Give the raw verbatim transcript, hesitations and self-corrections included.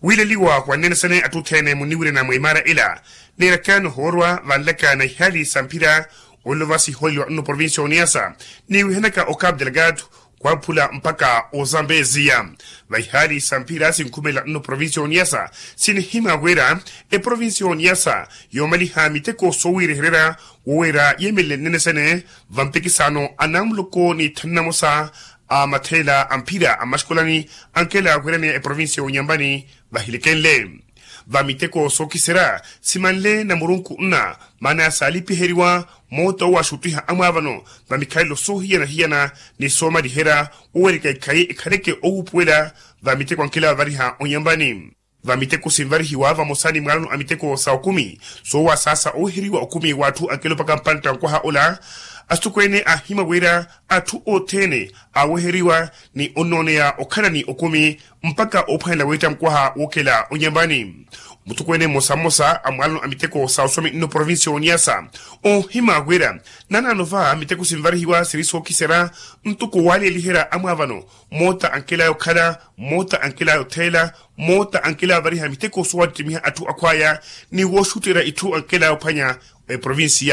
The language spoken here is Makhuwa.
Wiileliwa wa nnene sene atthu othene muniwirena mwa imaara ila, neerakaano hoorwa vanlaka na ihaali sa mphira, olova sihooliwa nno provincia oniyasa, niwihanaka okapu delgado, khwaphula mpakha ozambeziya. Va ihaali sa mphira sinkhumelela nno provincia oniyasa, sinihima wira eprovincia oniyasa yoomaliha miteko soowiirehererya, woweera yeemelele nnene sene, va mpikisaano a namuloko ni thanu namosa a matheela a mphira a mmaxikolani, ankela wiraneya eprovincia onyambani, vahilekenle. Va miteko sookiserya simanle na murunku nna, maana saalipiheriwa, moota owo axuttiha amwaavano, va mikhalelo soohiyana-hiyana, ni soomaliherya, wowerika ikhayi ekhaleke owuupuwela, va miteko ankela vavariha onyambani. Va miteko sinvarihiwa vamosa ni mwaalano a miteko sa okumi, soowa saasa oweheriwa okumi w'atthu ankela opaka mpantta nkwaha ola. Asitokweene aahimwa wira atthu othene aaweheriwa, ni onnooneya okhala ni okumi, mpakha oophwanela weetta mukwaha wookhela onyambani. Mutokweene mmosa mmosa a mwaalano a miteko sa oswami nno provincia oniyasa, oohimwa wira nanaano va miteko sinvarihiwa siri sookiserya, ntoko waaleeliherya amwaavano, moota ankelaya okhala, moota ankelaya otheela, moota ankelaya ovariha miteko soowattimiha atthu akhwaya, ni wooxutterya itthu ankelaya ophwanya eprovincia.